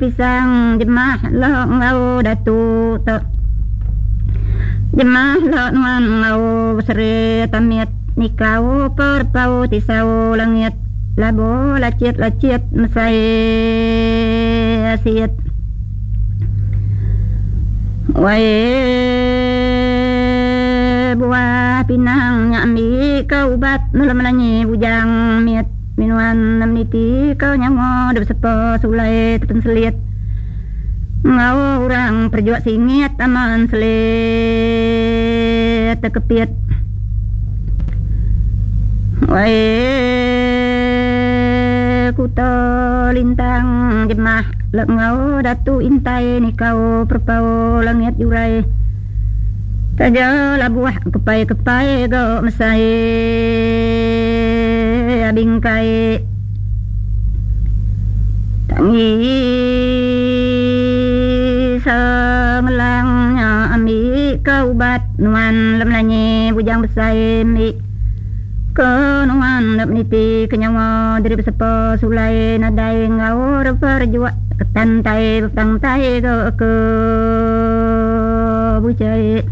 pisang jemah lo enggau datu tu. Jemah lo nuan enggau beseri tamit nikau perpau tisau langit labo lachit-lachit mesai asit. Wai buah pinang nya ambi ke ubat nulung melanyi bujang mit minuan nem niti ke nyawa dep sepa sulai tepenselit enggau orang perjuak singit aman selit tekepit. Wai kuta lintang jemah le enggau datu intai nikau perepau langit jurai taja labuh kepai-kepai ga mesai bingkai tangi sengelang nya ambi ke ubat nuan le melanyi bujang besai ambi ke nuan le meniti ke nyawa diri besepa sulai nadai enggau repa rejuk ketan tai bepang tai ke ke buchai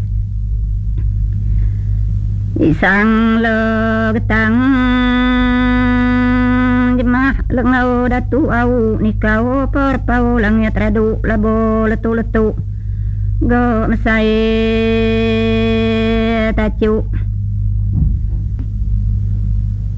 isang le getang jemah le enggau datu au nikau perepau langit radu labo letu-letu. Ga mesai tachu.